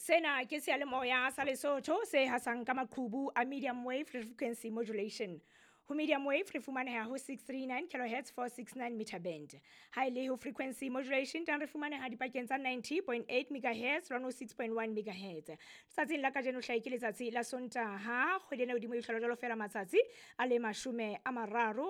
Sena ke seyalemoya sa Lesotho se hasang ka maqhubu a medium wave frequency modulation. Ho medium wave re fumaneha ho 639 kilohertz 469 meter band. Ha e le ho frequency modulation tang re fumaneha dipakeng tsa 90.8 megahertz le 106.1 megahertz. Tsatsing la kajeno hlae ke letsatsi la Sontaha, kgwedi ena hodimo e hlola jwalo fela matsatsi a le 30,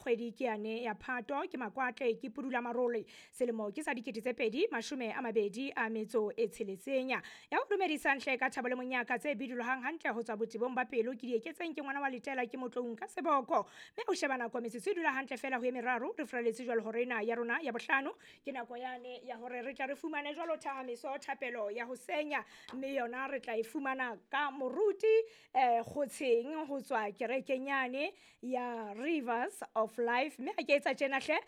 kgwedi ke yane ya Phato, ke Makwatle, ke Pudula Marole. Selemo ke sa 2026. Ya ho dumedisang hle ka thabo le monyaka tse bidulohang hantle ho tswa botebong ba pelo ke di eketseng ke ngwana wa letela ke motloung ka seboko. Mme o sheba nako metsotso e dula hantle fela ho e meraro re furaletse jwalo hore ena ya rona ya bohlano ke nako yane ya hore re tla re fumane jwalo thahamiso thapelo ya ho senya, mme yona re tla e fumana ka moruti Kgotsheng ho tswa kerekeng yane ya Rivers of Life. Mme ha ke etsa tjena hle,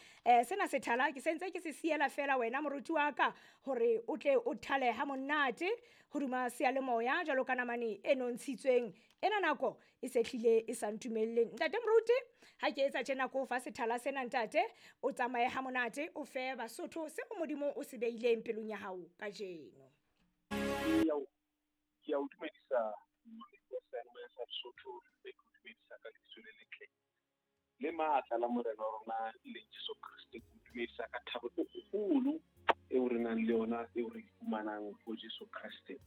sena sethala ke sentse ke se siela fela wena moruti wa ka hore o tle o thale ha monate hodima seyalemoya jwalo ka namane e nontshitsweng. Ena nako e se hlile e sa ntumelleng. Ntate moruti, ha ke etsa tjena ko fa sethala sena ntate, o tsamaye ha monate, o fe Basotho seo Modimo o se beileng pelong ya hao kajeno. Ke a o dumedisa wa seyalemoya sa Lesotho, mme ke o dumedisa ka lebitso le letle le matla la Morena wa rona le Jesu Kreste. Ke o dumedisa ka thabo e kgolo eo re nang le yona, eo re fumanang ho Jesu Kreste.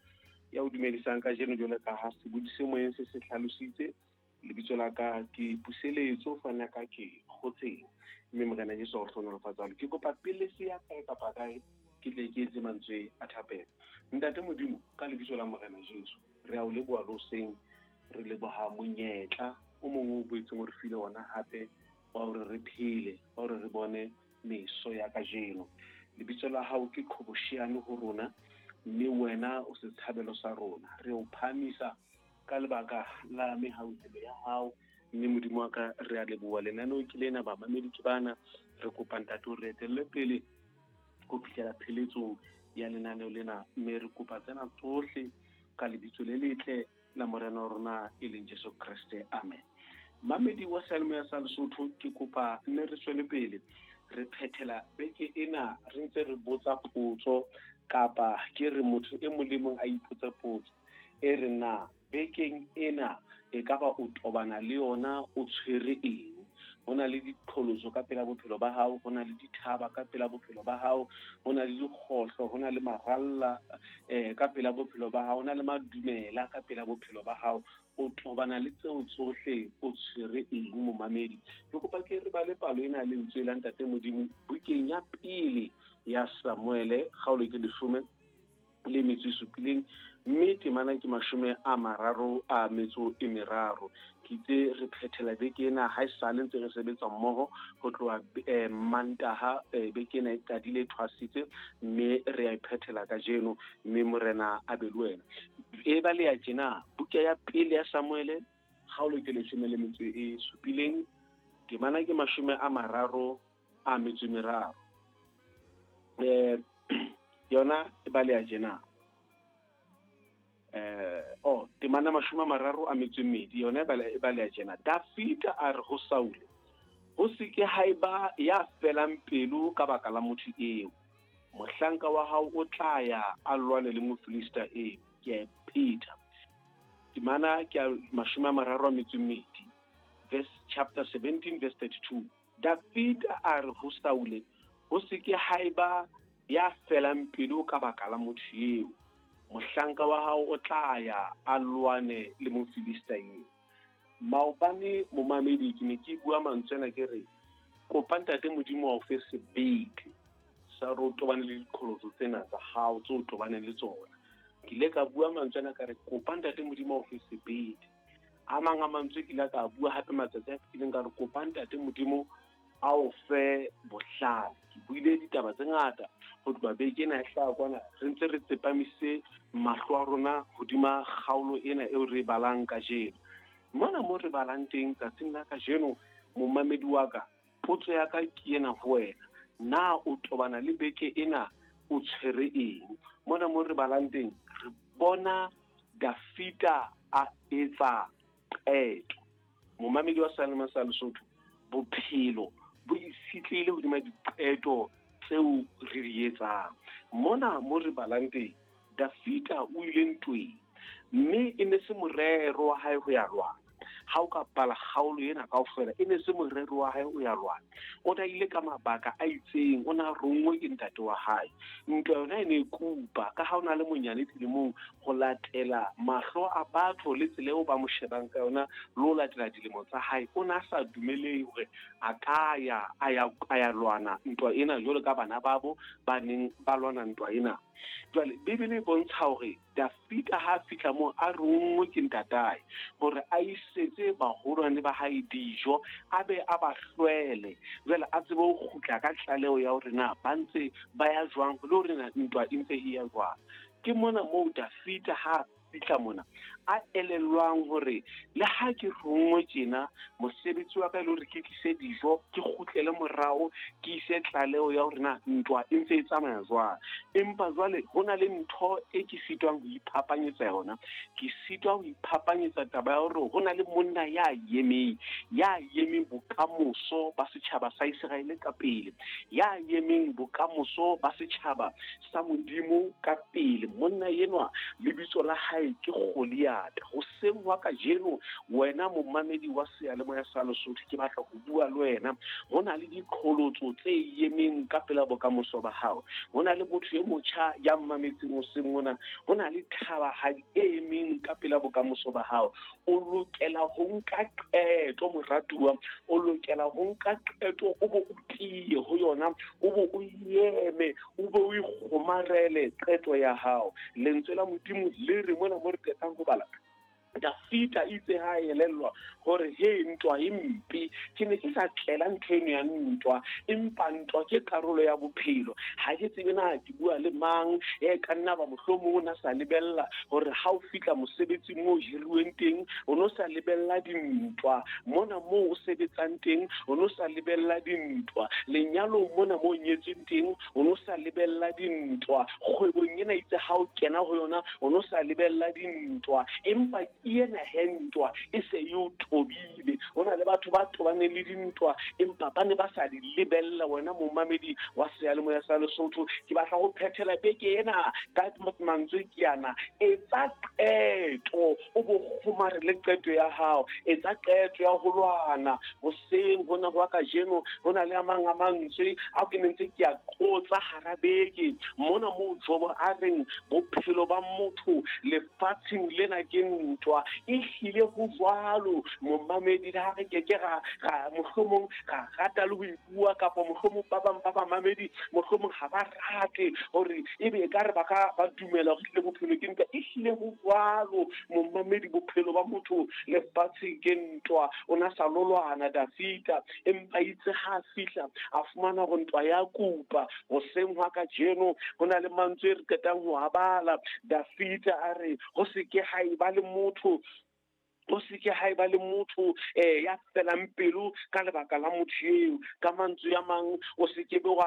Ya o dumedisang kajeno jwalo ka ha sebodi se moyeng se se hlalositse, lebitso la ka ke Puseletso, fana ka ke Kgotseng, mme Morena Jesu a o hlohonolofatsa. Ke kopa pele se ya kae kapa kae ke tle ke etse mantswe a thapelo. Ntate Modimo, ka lebitso la Morena Jesu, re a o leboha le hoseng, re leboha monyetla o mongwe o boetseng o re file ona hape wa hore re phele, wa hore re bone meso ya kajeno. Lebitso la hao ke qhobosheane ho rona, mme wena o setshabelo sa rona. Re o phahamisa ka lebaka la mehauhelo ya hao, mme Modimo wa ka re a leboha. Lenaneo ke lena, bamamedi ke bana, re kopa ntate o re etelle pele ho fihlela pheletsong ya lenaneo lena, mme re kopa tsena tsohle ka lebitso le letle la Morena wa rona e leng Jesu Kreste, amen. Mamedi wa seyalemoya sa Lesotho, ke kopa mme re tswele pele re phethela beke ena re ntse re botsa potso, kapa ke re motho e mong le mong a ipotse potso e re na bekeng ena e ka ba o tobana le yona o tshwere eng. Ho na le diqholotso ka pela bophelo ba hao, ho na le dithaba ka pela bophelo ba hao, ho na le dikgohlo, ho na le maralla ka pela bophelo ba hao, ho na le madumela ka pela bophelo ba hao. O tobana le tseo tsohle o tshwere eng momamedi? Ke kopa ke re bale palo ena lentswe la Ntate Modimo bukeng ya pele ya Samuele, kgaolo ke 17, mme temana ke 33. Ke itse re phethela beke ena ha esale ntse re sebetsa mmoho ho tloha Mantaha, beke ena e qadile e thwasitse, mme re a e phethela kajeno, mme Morena a be le wena. E ba le ya tjena buka ya pele ya Samuele, kgaolo ke 17, temana ke 33. Yona e ba le ya tjena. Temana 32, yona e ba le ya tjena. Dafida a re ho Saule, ho se ke ha eba ya felang pelo ka baka la motho eo. Mohlanka wa hao o tla ya a lwane le Mofilista eo. Ke a e phetha. Temana ke 32, verse chapter 17 verse 32. Dafida a re ho Saule, ho se ke ha eba ya felang pelo ka baka la motho eo. Mohlanka wa hao o tla ya a lwane le Mofilista eo. Maobane momamedi ke ne ke bua mantswe ana ke re kopa Ntate Modimo wa o fe sebete sa hore o tobane le diqholotso tsena tsa hao tseo o tobaneng le tsona. Ke ile ka bua mantswe ana ka re kopa Ntate Modimo wa o fe sebete. A mang a mantswe ke ile ka bua hape matsatsi a fetileng ka re kopa Ntate Modimo a o fe bohlale. Ke buile ditaba tse ngata ho tloha beke ena e hlaha kwana, re ntse re tsepamise mahlo a rona hodima kgaolo ena eo re e balang kajeno. Mona mo re balang teng tsatsing la kajeno, momamedi wa ka, potso ya ka ke ena ho wena. Na o tobana le beke ena o tshwere eng? Mona mo re balang teng, re bona Dafida a etsa qeto. Momamedi wa seyalemoya sa Lesotho, bophelo bo itshetlehile hodima diqeto tseo re di etsang. Mona mo re balang teng, Dafida o ile ntweng, mme e ne se morero wa hae ho ya lwana. Ha o ka bala kgaolo ena kaofela, e ne se morero wa hae o ya lwana. O ne a ile ka mabaka a itseng, o ne a ronngwe ke ntate wa hae. Ntwa yona e ne e kupa, ka ha o na le monyane dilemong, ho latela mahlo a batho le tsela eo ba mo shebang ka yona, le ho latela dilemo tsa hae, o ne a sa dumelehe hore a ka ya, a ya, a ya lwana ntwa ena jwalo ka bana babo ba neng ba lwana ntwa ena. Jwale Bibele e bontsha hore Dafida ha a fihla moo a ronngwe ke ntatae hore a isetse baholwane ba hae dijo, a be a ba hlwele, jwale a tsebe ho kgutla ka tlaleho ya hore na ba ntse ba ya jwang le hore na ntwa e ntse e ya jwang. Ke mona moo Dafida ha a fihla mona a elellwang hore le ha ke ronngwe tjena, mosebetsi wa ka e le hore ke tlise dijo, ke kgutlele morao, ke ise tlaleho ya hore na ntwa e ntse e tsamaya jwang. Empa jwale ho na le ntho e ke sitwang ho iphapanyetsa yona. Ke sitwa ho iphapanyetsa taba ya hore ho na le monna ya emeng, ya emeng bokamoso ba setjhaba sa Iseraele ka pele, ya emeng bokamoso ba setjhaba sa Modimo ka pele. Monna enwa lebitso la hae ke Goliatha. Hoseng hwa kajeno, wena momamedi wa seyalemoya sa Lesotho, ke batla ho bua le wena. Ho na le diqholotso tse emeng ka pela bokamoso ba hao. Ho na le motho e motjha ya mmametseng hoseng mona. Ho na le thabahadi e emeng ka pela bokamoso ba hao. O lokela ho nka qeto, moratuwa. O lokela ho nka qeto, o bo o tiye ho yona, o bo o eme, o bo o ikgomarele qeto ya hao. Lentswe la Modimo le re mona mo re qetang ho bala, Dafida itse ha a elellwa hore he ntwa e mpe, ke ne ke sa tlela ntho eno ya ntwa, empa ntwa ke karolo ya bophelo. Ha ke tsebe na ke bua le mang, e ka nna ba mohlomong o na sa lebella hore ha o fihla mosebetsing moo o hiruweng teng, o no sa lebella dintwa. Mona moo o sebetsang teng, o no sa lebella dintwa. Lenyalong mona moo o nyetsweng teng, o no sa lebella dintwa. Kgwebong ena itse ha o kena ho yona, o no sa lebella dintwa. Empa ke ena he ntwa e se e o tobile. Ho na le batho ba tobaneng le dintwa, empa ba ne ba sa di lebella. Wena momamedi wa seyalemoya sa Lesotho, ke batla ho phethela beke ena ka mantswe ke ana: etsa qeto, o bo kgomarele qeto ya hao. Etsa qeto ya ho lwana. Hoseng hona hwa kajeno, ho na le a mang a mantswe ao ke ne ntse ke a qotsa hara beke mona moo Jobo a reng bophelo ba motho lefatsheng lena ke ntwa. Ehlile ho jwalo, momamedi, le ha re keke ra mohlomong ra rata le ho e bua, kapa mohlomong ba bang ba bamamedi mohlomong ha ba rate hore ebe ekare ba ka ba dumela hore ehlile bophelo ke ntwa. Ehlile ho jwalo, momamedi, bophelo ba motho lefatsheng ke ntwa. O na sa lo lwana Dafida, empa itse ha a fihla a fumana hore ntwa ya kupa. Hoseng hwa kajeno ho na le mantswe e re qetang ho a bala. Dafida a re ho se ke ha eba le motho, ho se ke ha eba le motho ya felang pelo ka lebaka la motho eo. Ka mantswe a mang, o se ke be wa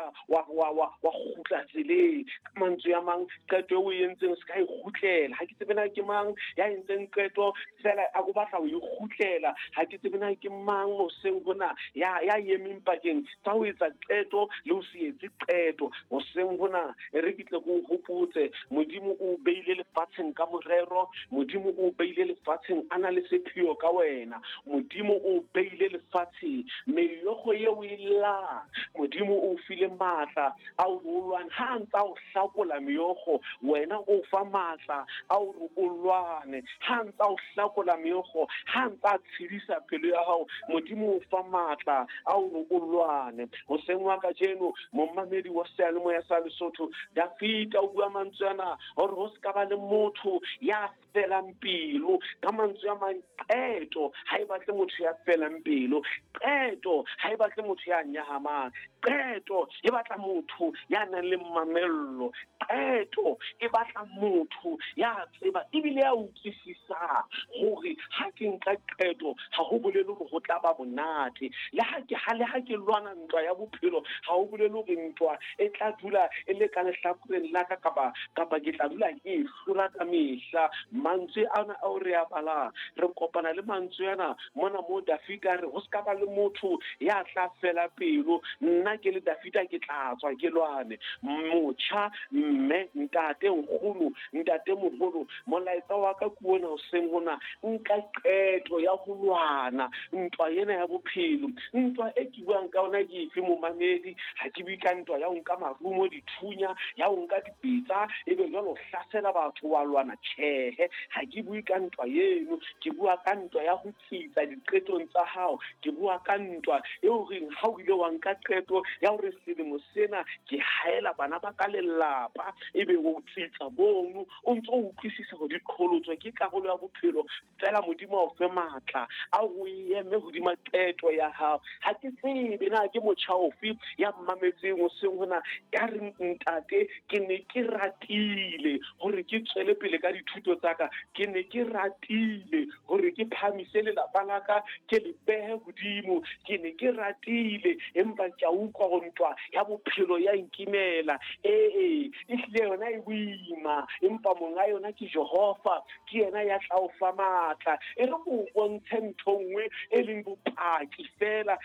kgutla tseleng. Ka mantswe a mang, qeto eo o e entseng se ka e kgutlela. Ha ke tsebe na ke mang ya entseng qeto fela a o batla ho e kgutlela. Ha ke tsebe na ke mang hoseng hona ya emeng pakeng tsa ho etsa qeto le ho se etse qeto. Hoseng hona e re ke tle ke o hopotse, Modimo o beile lefatsheng ka morero. Modimo o beile lefatsheng a na le sepheo ka wena. Modimo o beile lefatsheng meokgo eo e llang. Modimo o file matla a o lwane. Ha a ntsa o hlakola meokgo, wena o fa matla a hore o lwane. Ha a ntsa o hlakola meokgo, ha a ntsa tshedisa pelo ya hao, Modimo o fa matla a hore o lwane. Hoseng wa kajeno, momamedi wa seyalemoya sa Lesotho, Dafida o bua mantswe ana hore ho se ka ba le motho ya felang pelo. Ka mantswe a mang, qeto ha e batle motho ya felang pelo. Qeto ha e batle motho ya nyahamang. Qeto e batla motho ya nang le mamello. Qeto e batla motho ya tseba ebile ya utlwisisang hore ha ke nka qeto ha ho bolele hore ho tla ba monate. Le ha ke lwana ntwa ya bophelo, ha ho bolele hore ntwa e tla dula e le ka lehlakoreng la ka, kapa ke tla dula ke e hlola ka mehla. Mantswe ana ao re a balang, Re kopana le mantswe ana mona moo Dafida a re ho se ka ba le motho ya tla fela pelo, nna ke le Dafida ke tla tswa ke lwane. Motjha, mme, ntate, nkgono, ntatemoholo, molaetsa wa ka ke ona hoseng hona, nka qeto ya ho lwana ntwa ena ya bophelo. Ntwa e ke buang ka yona ke efe, momamedi? Ha ke bue ka ntwa ya ho nka marumo, dithunya, ya ho nka dipetsa, ebe jwale o hlasela batho wa lwana. Tjhehe, ha ke bue ka ntwa eno. Ke bua ka ntwa ya ho tsitsa diqetong tsa hao. Ke bua ka ntwa eo reng ha o ile wa nka qeto ya hore selemo sena ke haela bana ba ka lelapa, ebe o tsitsa mono o ntso o utlwisisa hore diqholotso ke karolo ya bophelo. Feela Modimo a o fe matla a o eme hodima qeto ya hao. Ha ke tsebe na ke motjha ofe ya mmametseng hoseng hona ya reng, Ntate, ke ne ke ratile hore ke tswele pele ka dithuto tsa ka, ke ne ke ratile hore ke phahamise lelapa la ka, ke le behe hodimo, ke ne ke ratile, empa ke a utlwa hore ntwa ya bophelo ya nkimela. Ee, ehlile yona e boima, empa monga yona ke Jehova, ke yena ya tla o fa matla. E re ke o bontshe ntho nngwe e leng bopaki feela.